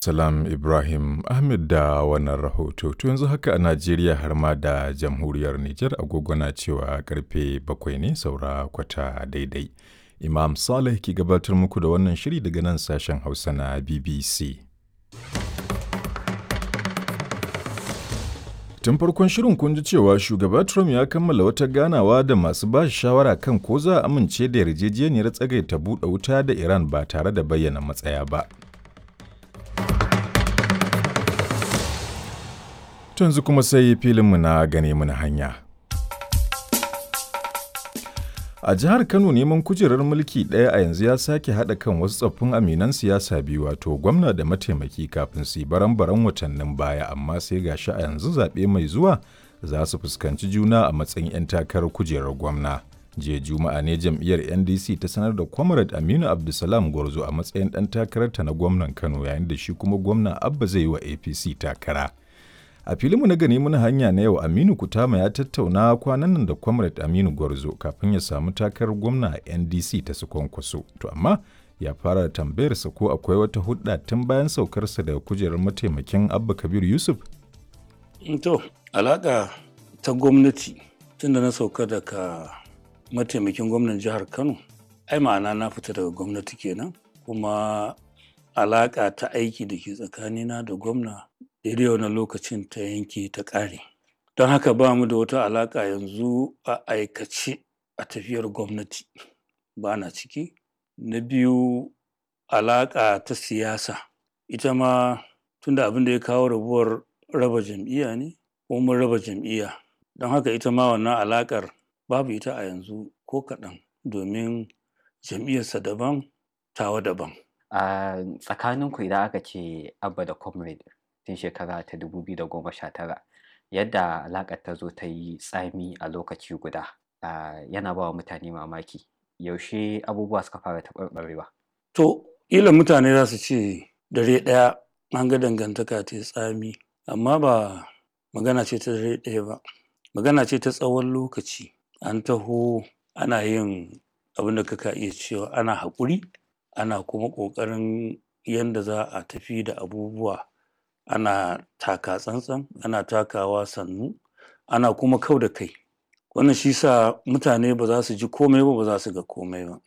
Salam Ibrahim Ahmed da wannan rahoto. To yanzu haka a Najeriya har ma da jamhuriyar Nijar agogo na cewa karfe 7 ne saura kwata daidai. Imam Saleh ke gabatar muku da wannan shiri daga nan sashen Hausa na BBC. Tun farkon shirin kun ji cewa shugaba Trump ya kammala wata ganawa da masu ba shi shawara kan ko za a amince da yarjejeniyar tsagaita buɗe wuta da Iran ba tare da bayyana matsaya ba. Yanzu kuma sai filinmu na gane muna hanya. A jihar Kano neman kujerar mulki ɗaya a yanzu ya sake haɗa kan wasu tsoffin aminan siyasa biyu, wato gwamna da mataimaki, kafin su yi baran-baran watannin baya, amma sai gashi a yanzu zaɓe mai zuwa za su fuskanci juna a matsayin 'yan takarar kujerar gwamna. Jiya Juma'a ne jam'iyyar NDC ta sanar da Comrade Aminu Abdulsalam Gwarzo a matsayin ɗan takararta na gwamnan Kano, yayin da shi kuma gwamna Abba zai yi wa APC takara. A filinmu na gani muna hanya na yau, Aminu Kutama ya tattauna kwanan nan da Comrade Aminu Gwarzo kafin ya samu takarar gwamna a NDC ta su Kwankwaso. To amma ya fara da tambayarsa ko akwai wata hudda tun bayan saukarsa daga kujerar mataimakin Abba Kabir Yusuf. To, alaƙa ta gwamnati tun da na sauka daga mataimakin gwamnan jihar Kano, ai ma'ana na fita daga gwamnati kenan, kuma alaƙa ta aiki da ke tsakanina da gwamna daidai wannan lokacin ta yanke ta ƙare. Don haka ba mu da wata alaƙa yanzu a aikace a tafiyar gwamnati, ba na ciki. Na biyu, alaƙa ta siyasa ita ma, tunda abin da ya kawo rabuwar raba jam'iyya ne ko mun raba jam'iyya, don haka ita ma wannan alaƙar babu ita a yanzu ko kaɗan, domin jam'iyyarsa daban, tawa daban. A tsakaninku, idan aka ce Abba da Comrade tun shekara ta 2019, yadda alaƙar ta zo ta yi tsami a lokaci guda yana ba wa mutane mamaki. Yaushe abubuwa suka fara taɓarɓarewa? To, ƙila mutane za su ce dare ɗaya an ga dangantaka ta yi tsami, amma ba magana ce ta dare ɗaya ba, magana ce ta tsawon lokaci. An taho ana yin abin da kaka iya cewa ana haƙuri, ana kuma ƙoƙarin yanda za a tafi da abubuwa, ana taka tsantsan, ana takawa sannu, ana kuma kau da kai. Wannan shi sa mutane ba za su ji komai ba, ba za su ga komai ba.